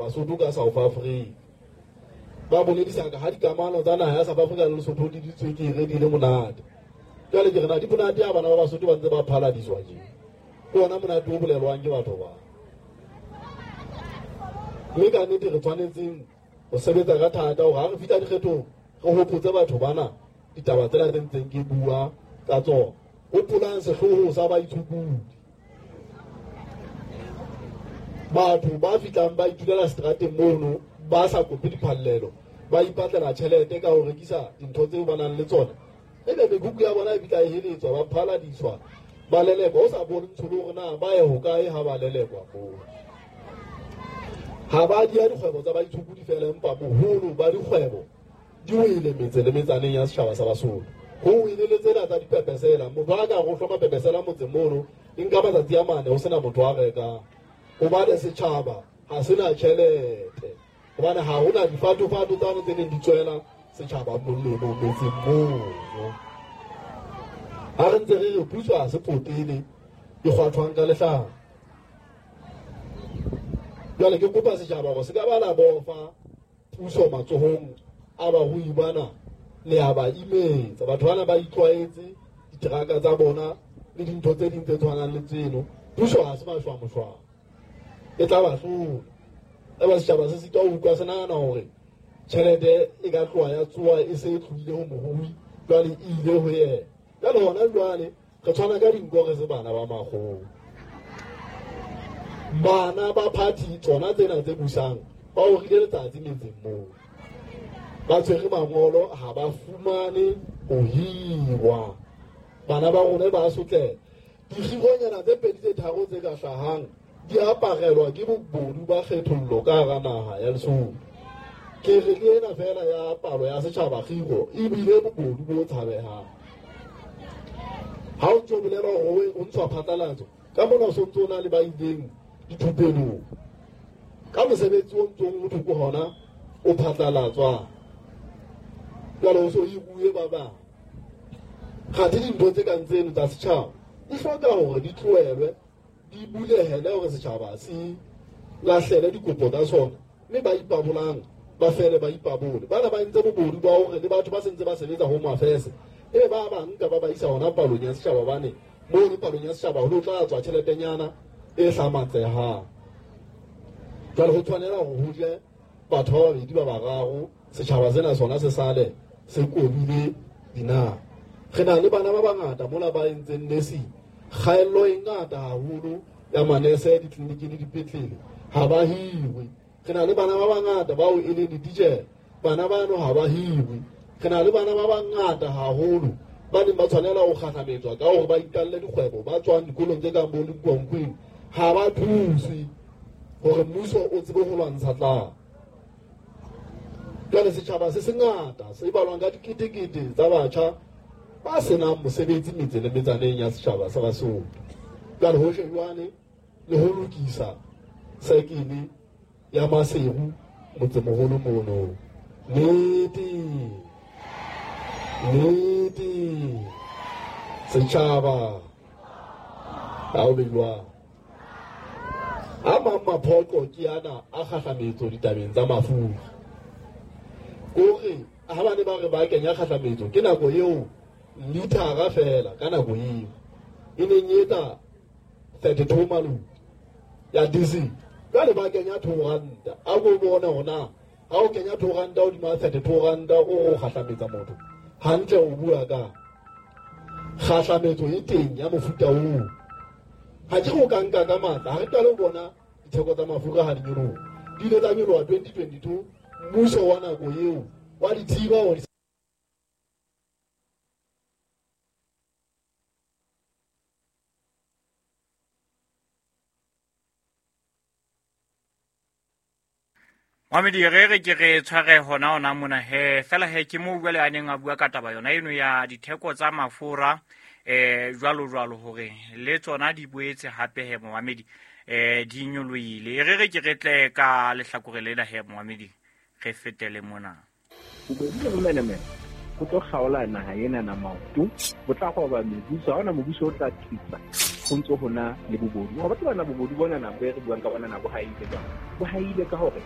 Basotho ka South Africa. Ba boledisa ka ha dikamano tsa naha ya South Africa le Lesotho di di tswekere di le monate. Jwale ke re na di monate ha bana ba Basotho ba ntse ba phaladiswa tje. Ke ona monate o bolelwang ke batho ba. Mme ka nnete re tshwanetseng ho sebetsa ka thata hore ha re fihla dikgethong re hopotse batho bana ditaba tsena tse ntseng ke bua ka tsona. Hopolang sehlooho sa baitshokodi. Batho ba fihlang ba itulela seterateng mono ba sa kope diphallelo, ba ipatlela tjhelete ka ho rekisa dintho tseo ba nang le tsona. Ebe mekhukhu ya bona e fihla e heletswa, ba phaladiswa, ba lelekwa, o sa bontsho le hore na ba ye hokae ha ba lelekwa moo. Ha ba dia dikgwebo tsa baitshokodi fela, empa boholo ba dikgwebo di wele metse le metsaneng ya setjhaba sa Basotho. Ho wele le tsena tsa dipepesela. Motho a ka re o hloma pepesela motseng mono, e nka matsatsi a mane ho sena motho a rekang. Hobane setjhaba ha se na tjhelete. Hobane ha hona difatofato tsane tse neng di tswela setjhaba molemo metseng mono. Ha re ntse re re puso ha se potele e kgwathwang ka lehlaka. Jwale ke kopa setjhaba hore se ka ba la bofa puso matsohong a barui bana, le a ba imetsa. Batho bana ba itlwaetse diteraka tsa bona le dintho tse ding tse tshwanang le tseno. Puso ha se mashwamoshwamo, e tla ba hlola. Eba setjhaba se sitwa ho utlwa, se nahana hore tjhelete e ka tloha ya tsoha e se e tlohile ho morui, jwale e ile ho yena. Jwale hona jwale re tshwana ka dinko, re se bana ba makgowa. Bana ba party tsona tsena tse busang ba orile letsatsi metseng moo, ba tshwere mangolo, ha ba fumane ho hirwa. Bana ba rona ba sotleha. Dikgironyana tse pedi tse tharo tse ka hlahang di aparelwa ke bobodu ba kgethollo ka hara naha ya Lesotho. Ke re le ena fela ya palo ya setjhaba kgiro ebile bobodu bo tshabehang. Ha o ntso bolela hore o ntshwa phatlalatso, ka mona o sontso o na le ba ileng dithupelong ka mosebetsi o ntsong o thoko hona o phatlalatswang. Jwale o so hiruwe ba bang. Kgathe dintho tse kang tseno tsa setjhaba di hloka hore di tlohelwe, di bulehele hore setjhaba se lahlele dikopo tsa sona, mme ba ipabolang ba fele ba ipabole. Bana ba entse bobodu ba hore le batho ba sentse ba sebetsa Home Affairs, ebe ba ba nka ba ba isa hona palong ya setjhaba, hobane mono palong ya setjhaba ho tlo tla tswa tjheletenyana e hlamatsehang. Jwale ho tshwanela hore ho je batho ba babedi ba bararo, setjhaba sena sona se sale se kobile dinaha. Re na le bana ba bangata mola ba entseng nursing, kgaello e ngata haholo ya manese ditleliniking le dipetlele, ha ba hirwe. Re na le bana ba bangata bao e leng dititjhere, bana bano ha ba hirwe. Re na le bana ba bangata haholo ba neng ba tshwanela ho kgahlametswa ka hore ba iqalle dikgwebo, ba tswang dikolong tse kang bo Linkonkweng, ha ba thuswe hore mmuso o tsebe ho lwantsha tlala. Jwale setjhaba se sengata se balwang ka diketekete tsa batjha ba senang mosebetsi metse le metsaneng ya setjhaba sa Basotho. Jwale ho shejwane le ho lokisa sekele ya Maseru motsemoholo mono. Nnete, nnete, setjhaba ha o be jwang. A mang maphoqo ke ana a kgahlametso ditabeng tsa mafura. Kore ha ba ne ba re ba kenya kgahlametso, ke nako eo lithara fela ka nako eo e neng e etsa 32 maloti ya diesel. Jwale ba kenya 2 ranta. A ko bone hore na ha o kenya 2 ranta hodima 32 ranta o re o kgahlametsa motho hantle, o bua ka kgahlametso e teng ya mofuta oo. Ha ke re o ka nka ka matla, ha re qale ho bona ditheko tsa mafura ha di nyoloha. Di ile tsa nyoloha 2022, mmuso wa nako eo wa di thiba hore Mamedi re re ke re tshware hona hona mona he fela he ke moo jwale a neng a bua ka taba yona eno ya ditheko tsa mafura jwalo jwalo hore le tsona di boetse hape he momamedi di nyolohile. Re re ke re tle ka lehlakore lena he momamedi re fetele mona. Bobedi le bomenemene go tlo kgaola naha ena na maoto, bo tla goba mebuso, ha hona mobuso o tla thusa. Ho ntso hona le bobodu. Wa ba tseba na bobodu bona na bo re buang ka bona na bo haile jwang? Bo haile ka hore